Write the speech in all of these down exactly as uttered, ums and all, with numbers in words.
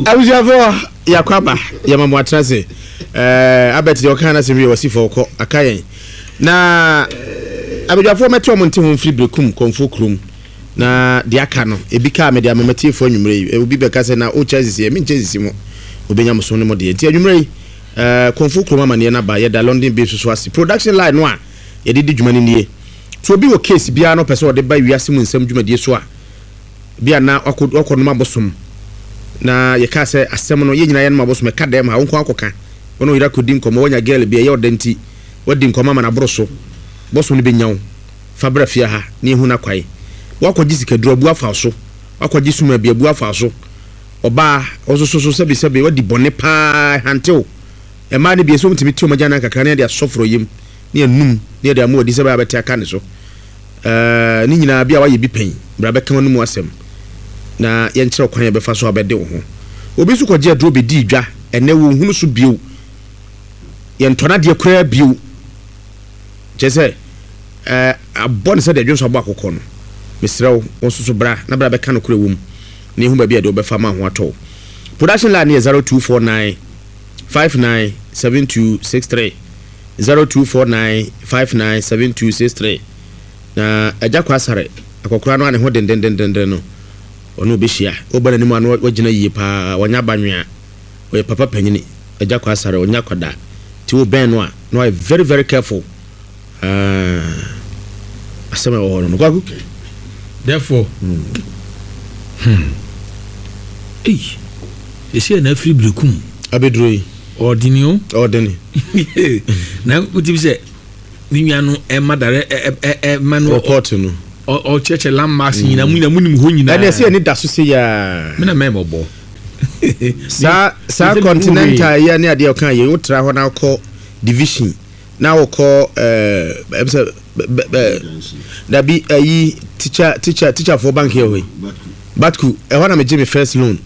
Abusuafoɔ, yɛakɔ aba, yɛma mo atena se. Ɛɛ, Abɛt deɛ ɔka no asɛm wie, wɔsi fɔ ɔkɔ aka yɛn na abadwafoɔ mɛte ɔmo nte ho mfiri Berekum Kɔnfoɔ kurom. Na deɛ aka no ebi kaa mede ama matiefoɔ anwummerɛ yi. Obi bɛka sɛ na wokyɛ sisi, menkyɛ sisi mo, obɛnya mo so ne mo deɛ. Nti anwummerɛ yi, ɛɛ, Kɔnfoɔ kurom amanneɛ no aba. Yɛda London Base so ase. Production line no a yɛde di dwuma no nie. Nti obi wɔ case biara no, ɔpɛ sɛ ɔde ba Wiase Mu Nsɛm dwumadie so a, bi a na wakɔ wakɔnom abosom na yɛka sɛ asɛm no yɛn nyinaa yɛnom abosom ɛka dɛm ha, wo nko akɔka wɔne wo yere akɔdi nkɔmmɔ, woanya girl bi ɛyɛ ɔda nti wadi nkɔmmɔ ama no aboro so, bɔsom no bɛnya wo fa bra fie ha na yɛhu no akwae. Woakɔgye sikaduro abu afa wo so, woakɔgye suma bi abu afa wo so, ɔbaa ɔsoso so sɛbesɛbe wadi bɔne paa hantew. Mmaa no bi ɛsɛ wɔmtumi te wɔn agyanan kakra na yɛde asɔ forɔyam ne yɛnum ne yɛde ama wadi sɛ bɛyɛ abɛte aka ne so. Ɛɛ, ne nyinaa bi a wayɛ bi pɛn, bra bɛka wɔn mu asɛm na yɛnkyerɛ kwan yɛbɛfa so abɛde wo ho. Obi nso kɔgye aduro bɛdi dwa, ɛnɛ wɔnhunu so bio, yɛntɔ n'adeɛ koraa bio, kyerɛ sɛ ɛɛ abɔ ne sɛ deɛ dwonso abɔ akokɔ no. Mesrɛ wo, wo nso so bra na bra bɛka no korɛ wɔ mu na yɛhu baabi a deɛ wobɛfa ma ho atɔ wo. Production line yɛ zero two four nine five nine seven two six three, zero two four nine five nine seven two six three. Na Agya Kɔ Asare akɔkora no a ne ho dendendendenden no, ɔne wobɛhyia, woba n'anim a na wagyina yie paa, wɔnyɛ abanwea, ɔyɛ papa panyini. Agya Kɔ Asare ɔnyɛ akwadaa, nti wobɛn no a na wayɛ very very careful. Ah, asɛm a ɛwɔ hɔ no no Kwaku. Therefore, hmm. Ei, ɛsi na afiri Berekum abɛduro yi. Ɔdene o. Ɔdene. Na wotumi sɛ ne nua no ɛma dare ɛma no report no. Ɔkyerɛkyerɛ landmarks nyinaa mu nyinaa mu nim hɔ nyinaa. Ɛne ɛsɛ yɛne da so sɛ yaa. Mena mɛ mɔbɔ. Saa saa Continental yɛ ne adeɛ ɔka yɛ, wotra hɔ na wokɔ Division na wokɔ ɛɛ ɛm sɛ bɛ bɛ dabi ayi teacher teacher teacherfoɔ bank yɛ hɔ yi, Batku, ɛhɔ na megye me first loan.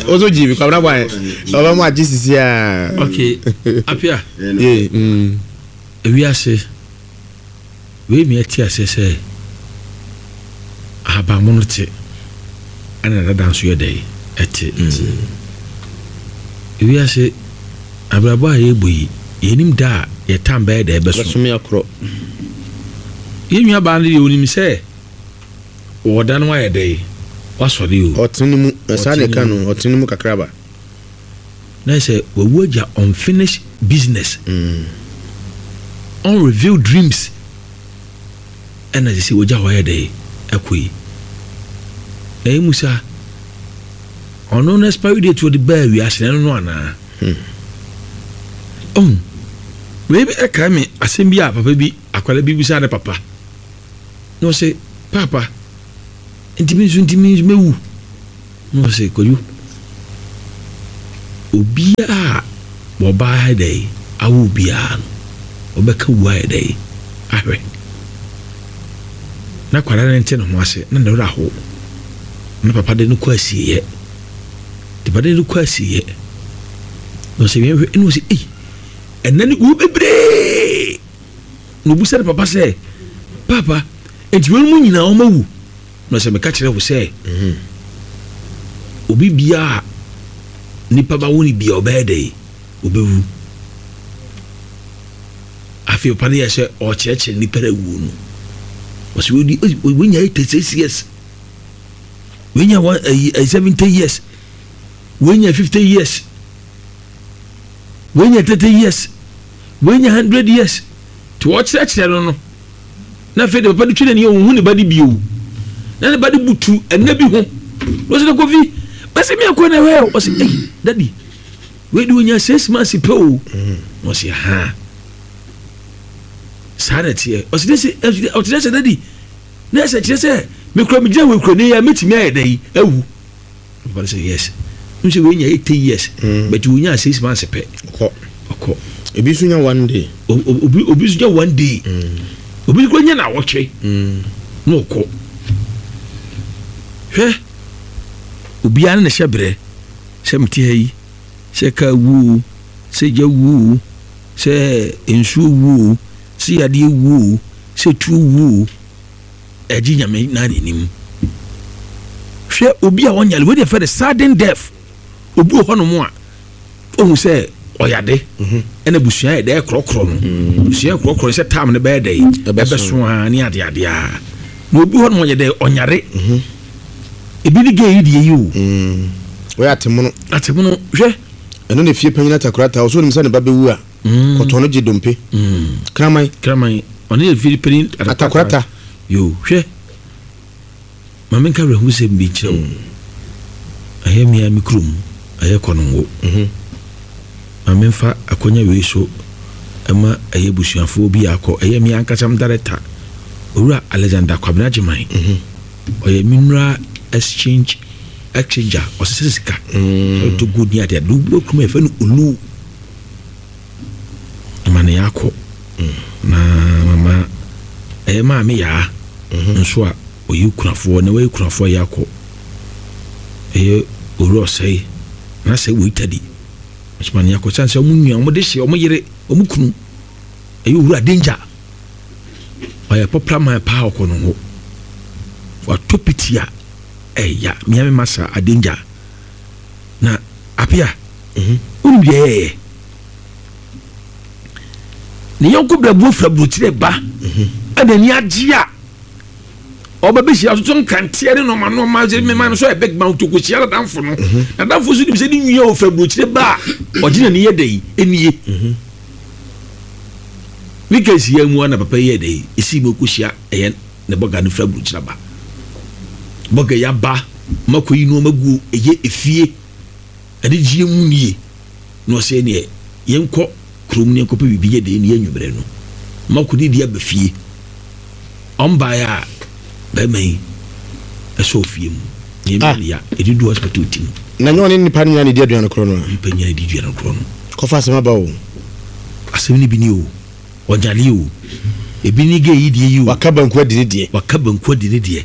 Woso gye bi, Kwabena bɔ ɔbɛ mu agye sisi a. Ok, Apia. Ye mm. Ewiase wei mi ɛte aseɛ sɛ ahabanmono te ɛna dada nso yɛ dɛ ɛte. Ewiase abrabɔ a yɛbɔ yi, yɛnim da a yɛtam bɛyɛ dɛ ɛbɛso. Bɛsome akorɔ. Yɛn nua baa no deɛ, onim sɛ wɔda no ayɛ dɛ wasɔre o. Ɔtene ne mu ɛsaa ne ka no, ɔtene ne mu kakraba. Na sɛ wawu agya unfinished business, mm. unrevealed dreams, ɛna sɛ sɛ wagya hɔ ayɛ dɛ ɛkɔ yi na emu sa ɔno no expiry date wɔde baa wiase na ɛno no anaa. Hmm. Ɔhu wei bi ɛkae me asɛm bi a papa bi, akwadaa bi bisa ne papa na ɔsɛ, "Papa, ntumi nso ntumi nso mɛwu?" Na ɔsɛ, "Kwadwo, obiara a wɔbaa ayɛ dɛ awo obiara no, ɔbɛka wu ayɛ dɛ ahwɛ." Na akwadaa no nte ne ho ase na ne werɛ aho na papa de no kɔ asieɛ de papa de no kɔ asieɛ na ɔsɛ yɛn hwɛ, ɛna ɔsɛ, "Ei, ɛnɛ ne wu bebree." Na obusa ne papa sɛ, "Papa, nti wɔn mu nyinaa wɔn awu?" Na ɔsɛ, "Meka kyerɛ wo sɛ obi biara nipa ba wo ne bia ɔbɛyɛ dɛ obɛwu." Afei papa no yɛ sɛ ɔkyerɛkyerɛ nipa no awuo no, ɔsɛ wɔdi wɔnya eighty six years, wɔnya one ɛyi seventy years, wɔnya fifty years, wɔnya thirty years, wɔnya hundred years. Tí wɔkyerɛkyerɛ no no na afei de papa de twi n'ani, ohun ne ba de bio na ne ba de butu ɛnna bi ho na ɔsɛ, "Kofi, bɛsɛ mi akɔ na ɛhɛ." Ɔsɛ, "Ɛyi, daddy, wei de onya six months pɛ o." Na ɔsɛ, "Ha, saa na ɛteɛ." Ɔsɛ de sɛ ɔkyerɛ sɛ, "Daddy, na ɛsɛ kyerɛ sɛ mekura mi gyina wɔ ekura ne yɛ mɛtumi ayɛ dɛ yi awu?" Papa no sɛ, "Yes." N sɛ wei nya eighty years Mm. but wonya six months pɛ. Ɔkɔ. Ɔkɔ. Ebi nso nya one day. Obi obi nso nya one day, obi nso nya na awɔtwe Mm. na ɔkɔ. Hwɛ, obiara ne ne hyɛ berɛ sɛ mete ha yi, sɛ kaa wuo o, sɛ gya wuo o, sɛ nsuo wuo o, sɛ yadeɛ wuo o, sɛ tuo wuo o, ɛgye Nyame na n'anim. Hwɛ, obi a ɔnyale wei deɛ fɛ de sudden death. Obi wɔ hɔnom a ohun sɛ ɔyade, ɛna busua yɛ dɛ korɔkorɔ no, busua yɛ korɔkorɔ sɛ tam no bɛyɛ dɛ ɛbɛso a ne adeade a. Na obi hɔnom ɔyɛ dɛ ɔnyare, ebi ne gay yi deɛ yi o. Wɔyɛ atemono. Atemono, hwɛ. Ɛno na efie panyin Atakorata ɔso onim sɛ ne ba bɛwu a, kɔtɔn no gye dompe kraman. Kraman ɔne yɛ fie panyin. Atakorata. Yo, hwɛ, maame, nka werɛho sɛ bi nkyerɛ wo. Ɛyɛ mmea me kurom, ɛyɛ Kɔnongo. Maame, mfa akɔnya wei so ɛma ɛyɛ busuafoɔ bi akɔ. Ɛyɛ mmea ankasa m director, Owura Alexander Kwabena Gyeman, ɔyɛ mineral exchange exchanger, ɔsesɛ sika, ɔtɔ gold ne adeɛ ade wɔ kurom a yɛfrɛ no Olu. Ɛma ne yɛakɔ na mama ɛyɛ maame yaa nso a ɔyɛ kunafoɔ na wɔyɛ kunafoɔ yɛ akɔ. Ɛyɛ owura ɔsɛe na sɛ wɔ Italy nso ne akɔ sane sɛ ɔmo nua, ɔmo de hyɛ ɔmo yere, ɔmo kunu ɛyɛ owura Danger, ɔyɛ popular man paa. Ɔkɔ no ho watɔ piti a ɛya mmea mi ma sa Adanger na Apia. Wonim deɛ ɛyɛyɛ ne yɔnko brɛbuo fira burokyerɛ ba, ɛna ani agye a ɔbɛbɛhyia atoto nkanteɛ ne nɔɔma nɔɔma sɛ mema no so yɛ big man to kɔhyia nadamfo no. Nadamfo so nim sɛ ne nua ɔfira burokyerɛ ba a ɔgye n'ani yɛ dɛ yi ɛnie. Weekend si yɛ mu a na papa yi yɛ dɛ yi ɛsii mu kɔhyia ɛyɛ ne bɔga no fira burokyerɛ ba. Bɔga yi aba makɔ yi nneɛma gu ɛyɛ efie ɛde gyie mu nie na ɔsɛ neɛ yɛnkɔ kurom ne yɛnkɔpɛ biribi yɛ dɛ ne yɛ. Nwummerɛ no makɔ ne di aba fie. Ɔmbaeɛ a bɛrima yi ɛsɛ ofie mu nneɛma ne ya ɛde du hospital ti mu. Na nyɛ ɔne nipa no nyinaa ne di aduane korɔ no a? Nipa nyinaa di aduane korɔ no. Kɔfa asɛm aba o. Asɛm no bi ni o, ɔnyale o, ebi ni gay yi deɛ yi o. Waka banku adi ne deɛ. Waka banku adi ne deɛ.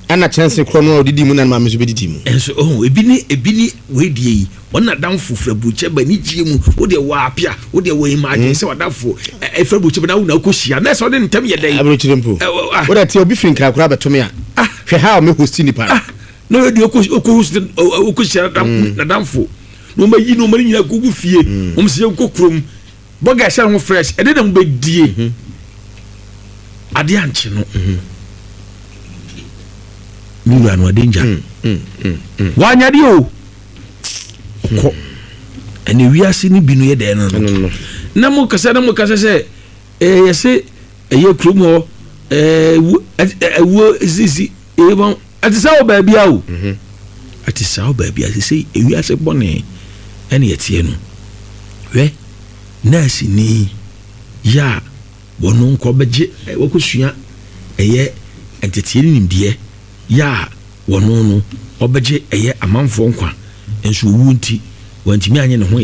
Ɛna kyɛnse korɔ no a ɔdidi mu na ne maame nso bɛdidi mu. Ɛnso ɔho ebi ni ebi ni wei deɛ yi, wɔn nadamfo fira burukyɛ ba ne gyie mu. Wo deɛ wɔ Apia, wo deɛ wɔ imagine sɛ wadamfo ɛfira burukyɛ ba na wo na akɔ hyia na ɛsɛ ɔde ntɛm yɛ dɛ. Aburokyire mpo, wo de te obi firi Nkran koraa bɛtome a, hwɛ ha a ɔmɛ host nipa no. Na wɔde ɔkɔ ɔkɔ host, ɔkɔ hyia nadamfo na wɔn ayi na wɔn nyinaa gugu fie. Wɔn sɛ yɛnkɔ kurom, bɔga ɛhyɛ ho fresh ɛde na mo bɛ die adeɛ ankye no. Mi wura no ade ngya wanyadeɛ o, ɔkɔ. Ɛna wiase no bi no yɛ dɛn no no na mo kasa na mo kasa sɛ ɛɛ yɛsɛ ɛyɛ kurom hɔ ɛɛ ɛwuo sisi ɛyɛ wɔn ɛte sɛ wɔ baabi a o, ɛte sɛ wɔ baabi a sisi ewiase bɔne ɛna yɛteɛ no. Hwɛ, nɛɛse ni yɛ a wɔn nkɔ bɛgye wɔkɔsua ɛyɛ nteteɛ ne nimdeɛ yɛ a wɔn no ɔbɛgye ɛyɛ amanfoɔ nkwa nso owu nti wɔntumi anyɛ ne ho.